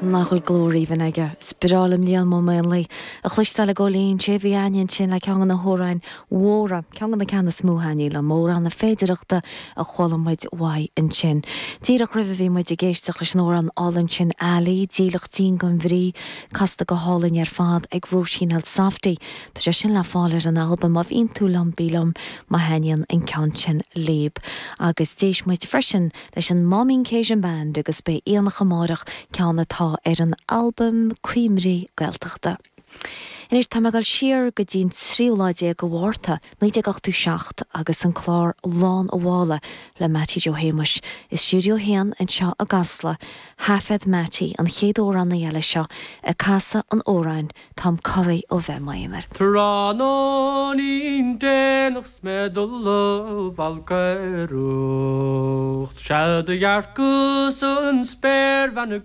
Nach bhfuil glór aoibhinn aige? Is breá liom Liam Ó Maonlaí a chloisteáil i gcónaí. Sé a bhí againn ansin le ceann de na hamhráin mhóra, ceann de na ceanna is mó a thaitníonn liom, amhrán na féidireachta a chuala muid uaidh ansin. Díreach roimhe bhí muid ag éisteacht leis an amhrán álainn sin Ali, Dílleachtín gan Bhrí, casta go hálainn ar fad ag Róisín Elsafty. Tá sé sin le fáil ar an albam Má Bhíonn Tú Liom Bí Liom má thaitníonn an ceann sin libh. Agus d'éist muid freisin leis an Máimín Cajun Band agus Beidh Aonach Amárach, ceann atá ar an albam Cuimhní Gaeltachta. Anois tá mé ag dul siar go dtí an tríú lá déag de Mhárta, 1987 agus an clár Lán a' Mhála le Mattie Joe Shéamuis. I Stiúideo 1 anseo i gCasla, thaifead Mattie an chéad amhránaí eile seo ag casadh an amhráin Táim corraithe ó bheith i m'aonar. Tráthnóinín déanach 's mé ag dul a bhalcaireacht, Sea do dhearcas an spéirbhean ag.